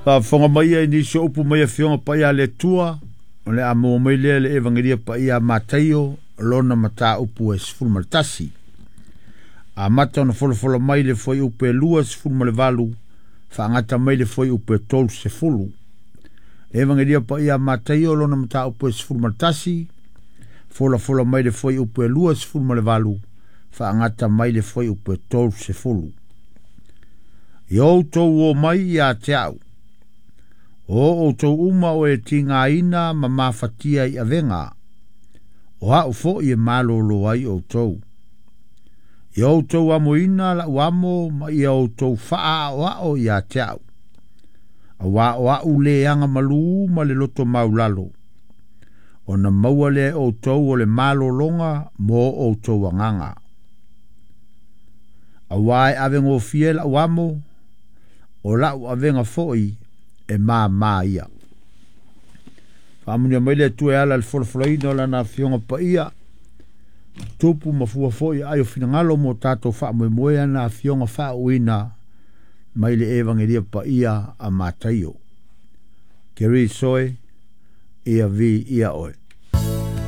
Faafofoga mai ia i nisi o upu mai Afioga Paia a le Atua, o le a maua mai lea le Evagelia Paia a Mataio, lona mataupu e 11. Amata ona folafola mai le fuaiupu e 28, faagata mai le fuaiupu e 30. Le Evagelia Paia a Mataio, lona mataupu e 11, folafola mai le fuaiupu e 28, faagata mai le fuaiupu e 30. Ia outou o mai ia te au, o outou uma o e tigaina ma mafatia i avega, o au foi e malōlō ai outou. Ia outou amoina la'u amo ma ia outou fa'aaoa'o ia te au. Auā o a'u le agamalū ma le loto maulalo, ona maua lea e outou o le malōlōga mo outou agaga. Auā e avegofie la'u amo, o la'u avega foi e māmā ia. Faamanuia mai le Atua e ala i le folafolaina o Lana Afioga Paia, tupu ma fua foi ai o finagalo mo tatou faamoemoe ana Afioga faauuina mai le Evagelia Paia a Mataio. Keriso e, ia viia oe.